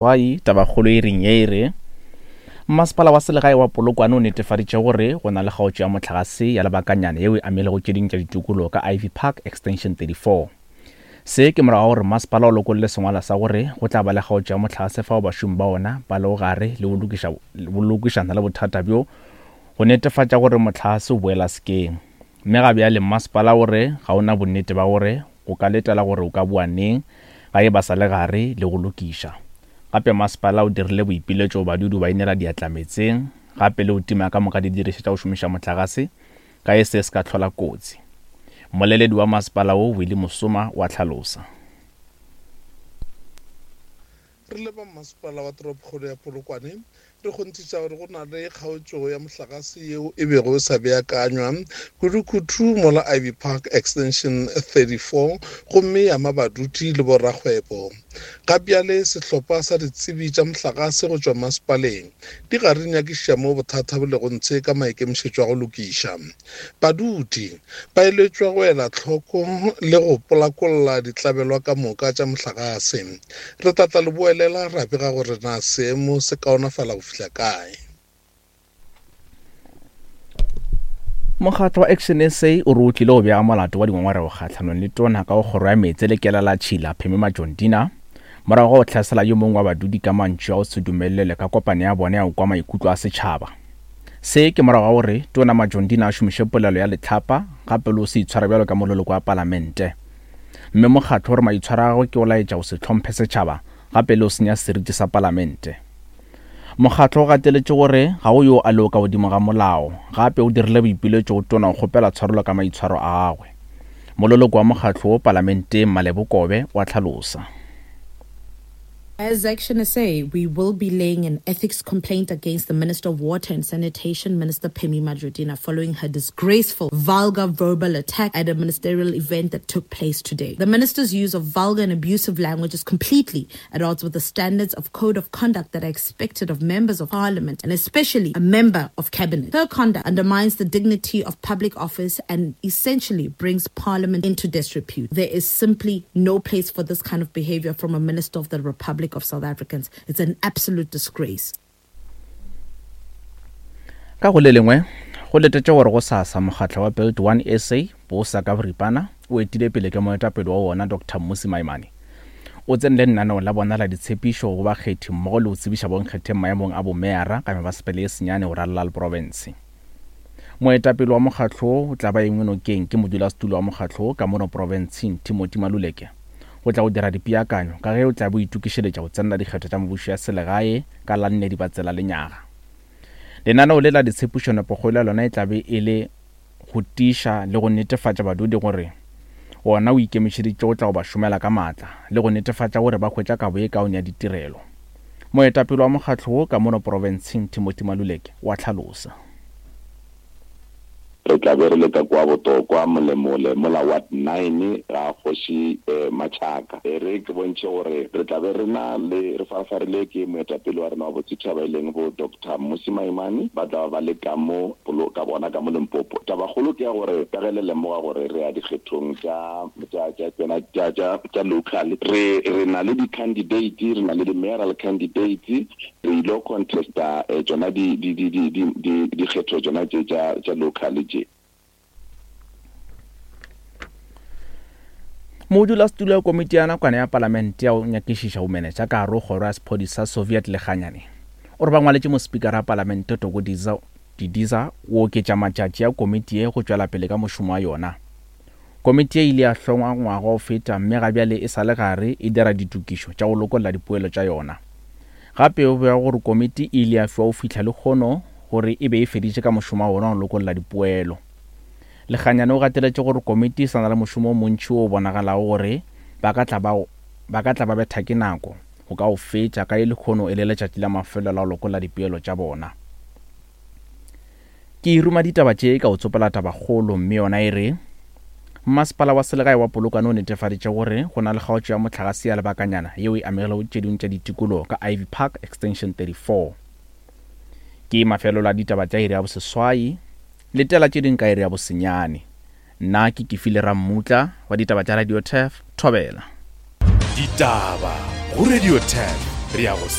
Seswai, Tabakgolo e reng ye e re, Mmasepala wa selegae wa Polokwane o netefaditše gore go na le kgaotšo ya mohlagase ya lebakanyana yeo e amilego tše ding tša ditikologo ka Ivy Park Extension 34. Se ke morago ga gore mmasepala o lokolle sengwalwa sa gore go tla ba le kgaotšo ya mohlagase fao bašomi ba ona ba lego gare le go lokišana le bothata bjo go netefatša gore mohlagase o boela sekeng. Mme ga bjale mmasepala o re ga o na bonnete ba gore go ka letela gore o ka boa neng ga e ba sa le gare le go lokiša. Gape masepala o dirile boipiletšo go badudi go ba inela diatla meetseng gape le go tima ka moka didirišwa tša go šomiša mohlagase ka ge se se ka hlola kotsi. Mmoleledi wa masepala wo, Willie Mosoma o a hlalosa. Re le ba Mmasepala wa Toropokgolo ya Polokwane, re kgonthiša gore go na le kgaotšo ya mohlagase yeo e bego e sa beakanywa kudukudu mola Ivy Park Extension 34 gomme ya ama badudi le borakgwebo. Ga bjale sehlopha sa ditsebi tša mohlagase go tšwa masepaleng di gare di nyakišiša moo bothata bo lego ntshe ka maikemišetšo a go lokiša. Badudi ba eletšwa go ela hloko le go polakolla ditlabelwa ka moka tša mohlagase. Re tla tla leboelela ra bega gore na seemo se kaonafala go fihla kae. Mokgatlo wa Action SA o re o tlile go bega molato wa dingongorego kgahlanong le tona ka go kgoro ya meetse le kelelatšhila Phemi Majondina morago ga go hlasela yo mongwe wa badudi ka mantšu a go se dumelelwe ka kopano ya bona ya go kwa maikutlo a setšhaba. Se ke morago ga gore Tona Majondina a šomiše polelo ya lehlapa gape le go se itshwara bjalo ka moleloko wa palamente. Mme mokgatlo o re maitshwaro a gagwe ke go laetša go se hlomphe setšhaba gape le go senya seriti sa palamente. Mokgatlo o gateletše gore ga go yo a lego ka godimo ga molao gape o dirile boipiletšo go Tona go kgopela tshwarelo ka maitshwaro a gagwe. Moleloko wa mokgatlo wo palamenteng Malebo Kobe o a hlalosa. As Action SA, we will be laying an ethics complaint against the Minister of Water and Sanitation, Minister Pemmy Majodina, following her disgraceful, vulgar verbal attack at a ministerial event that took place today. The minister's use of vulgar and abusive language is completely at odds with the standards of code of conduct that are expected of members of parliament and especially a member of cabinet. Her conduct undermines the dignity of public office and essentially brings parliament into disrepute. There is simply no place for this kind of behavior from a minister of the Republic of South Africans. It's an absolute disgrace. Ka go le lengwe, go letetše gore gosasa mokgatlo wa Build One SA bosa ka boripana o etile pele ke moetapele wa wona Doctor Mmusi Maimane o tsene le lenaneo la bona la ditshepišo go bakgethi mmogo le go tsebiša bonkgetheng maemong a bomeyara ka mebasepele ye senyane go ralala le profense. Moetapele wa mokgatlo wo o tla ba engwe nokeng ke modulasetulo wa mokgatlo wo ka mono profenseng Timothy Maluleke go tla go dira dipeakanyo ka ge o tla be o itokišeletša go tsenela dikgetho tša mebušo ya selegae ka la nne Dibatsela lenyaga. Lenaneo le la ditshepišo nepokgolo ya lona e tla be e le go tiiša le go netefatša badudi gore wona o ikemišeditše go tla go ba šomela ka maatla le go netefatša gore ba hwetša kabo ye kaone ya ditirelo. Moetapele wa mokgatlo wo ka mono profenseng Timothy Maluleke o a hlalosa. Re tla be re le ka kua Botokwa, Molemole, mola Ward Nine ga Kgoši Machaka. E re ke bontšhe gore re tla be re na le, re farafarile ke moetapele wa rena wa botsetšhaba e leng bo Doctor Mmusi Maimane, ba tla ba ba le ka mo, ka bona ka mo Limpopo. Tabakgolo ke ya gore ka ge le lemoga gore re ya dikgethong tša, tša, tša tšona, tša, tša, tša local, re, re na le di-candidate, re na le di-mayoral candidates, Re ilo contesta tšona di, di, di, di, di, di, dikgetho tšona tše tša, tša local tše. Modulasetulo wa komiti ya nakwana ya palamente ya go nyakišiša bomenetša ka gare go kgoro ya sephodisa sa Soviet Lekganyane o re ba ngwaletše mospikara wa palamente Toko Didiza go oketša matšatši a komiti ye go tšwela pele ka mošomo wa yona. Komiti ye e ile ya hlongwa ngwaga wa go feta mme ga bjale e sa le gare e dira ditokišo tša go lokolla dipoelo tša yona. Gape o bega gore komiti e ile ya fiwa go fihla lehono gore e be e feditše ka mošomo wa bona wa go lokolla dipoelo. Lekganyane o gateletše gore komiti e sa na le mošomo o montši wo o bonagalago gore ba ka tla ba ba ka tla ba betha ke nako go ka o fetša ka ge lehono e le letšatši la mafelelo la go lokolla dipoelo tša bona. Ke ruma ditaba tše ka go tsopola tabakgolo mme yona e re, Mmasepala wa selegae wa Polokwane o netefaditše gore go na le kgaotšo ya mohlagase ya lebakanyana yeo e amegilego tše dingwe tša ditikologo ka Ivy Park Extension 34. Ke mafelelo a ditaba tša iri ya boseswai, letela tše dingwe ka iri ya bosenyane. Nna ke Kefile Rammutla wa ditaba tša Radio Turf, Thobela. Ditaba go Radio Turf. Re ya go.